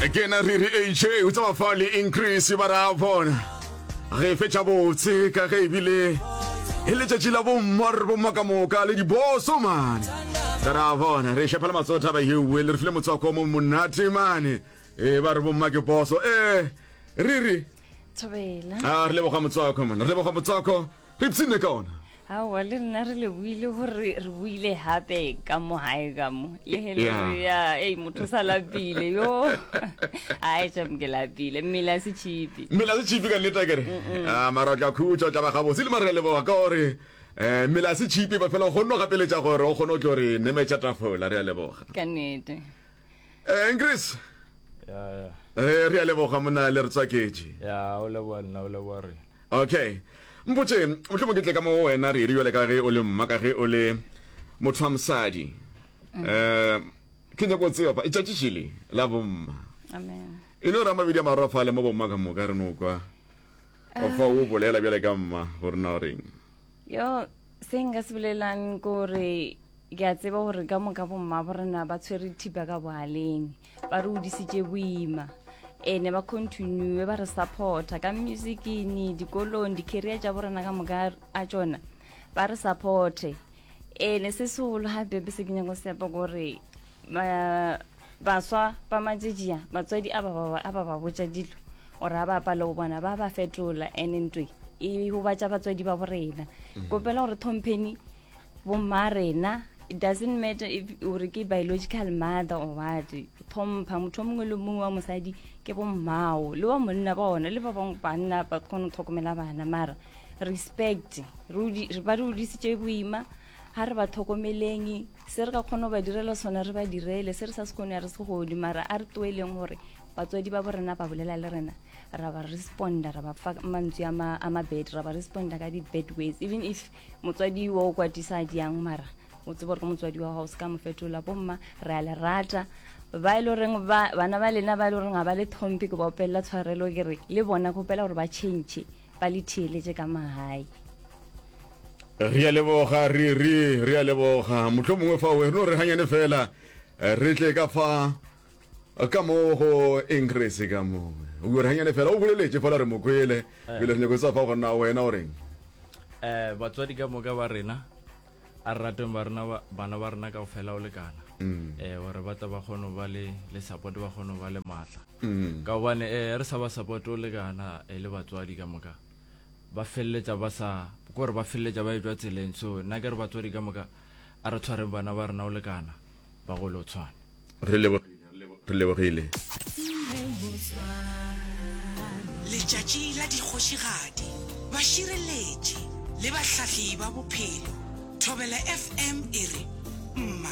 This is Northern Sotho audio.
Ke na Riri AJ o tseba fa le increase ba ra bona. Re fetša botse ka ge ebile e letšatši la bomma re bomma ka moka le diboso mane. Ka ra bona re šepela matsoho taba yewe le re file motswako mo monate mane. E ba re bomma ke boso. Eh Riri. Thobela. A re leboga motswako mane. Re leboga motswako. Re ipshinne ka ona. Aowa le rena re leboile gore re buile gape ka mo gae ka mo le he le re ya ei motho sa lapile yo ai shame ke lapile mmele a se tšhipi mmele a se tšhipi ka nnete akere a mara o tla khutša o tla ba gabotse le mara re leboga ka gore um mmele a se tšhipi ba fela o kgonne go gapeletša gore o kgone o tlo re nemetša tafola re a leboga ka nnete Eh, Chris. Ya ya. Eh, re a leboga monna le re tswaketše. Ya, o leboga nna, o leboga re. Okay. Mpotše, mohlomong ke tle ka mo wena re bjale ka ge o le mma ka ge o le motho wa mosadi. Mm. Eh, ke nyako tseba fa itšatši šele la bomma. Amen. E no ra mabedi a marwa fa le mo bomma ka moka re no kwa. O fa o bolela bjale ka mma gore na o reng. Yo, se nka se bolelang ke gore ke a tseba gore ka moka bomma bo rena ba tshwere thipa ka bogaleng ba re odisitše boima ene ba continue ba re supporta ka musicini dikolong di-career tša borena ka moka a tšona ba re supporte ene se segolo gape se ke nyako sepa kore baswa ba matšetšia batswadi a ba ba ba botša dilo gore a ba apale go bona ba ba fetola ene ntwe e gobatša batswadi ba borena mm. kopela gore thompheni bomma rena it doesn't matter if gore ke biological mother or what thompha motho o mongwe le mongwe wa mosadi ke bommao le wa monna ba ona le ba bangwe banna ba kgone go tlhokomela bana mara respect ba re odisitše boima ga re ba tlhokomeleng se re ka kgona go ba direla sona re ba direle se re sa se kgone ya re se godi mara a re toeleng gore batswadi ba borena ba bolela le rena ra ba responda ra ba fa mantswe a ma-bad ra ba responda ka di-bad ways even if motswadi wa o kwatisa diang mara o tsebe gore ke motswadi wa gago se ka mo fetola bomma re a le rata ba e le goreng bana ba lena ba e le goreng ga ba le tlhomphe ke ba opelela tshwarelo ke re le bona kgopela gore ba change ba le theeletše ka magae re a leboga re re re a leboga motlho mongwe fa o re no re ganyane fela eh, re tle ka fa ka mo go increase ka mo o re ganyane fela o boleletše fela re mo kwele eh. pele re nyako tsa fa go nna wena o reng eh batswadi ka moka ba rena a re rateng ba rena bana ba rena ka fela o lekana mm. eh gore ba tla ba kgone ba le le support ba kgone ba le matla mm. ka gobane eh re sa ba support o lekana e le batswadi ka moka ba feleletša ba sa gore ba feleletša ba etšwa tseleng so nna ke re batswadi ka moka a re tshwareng bana ba rena o lekana ba gole o tshwane re lebogile Letšatši la dikgošigadi, bašireletši le bahlahli ba bophelo, Thobela FM e re, Mma.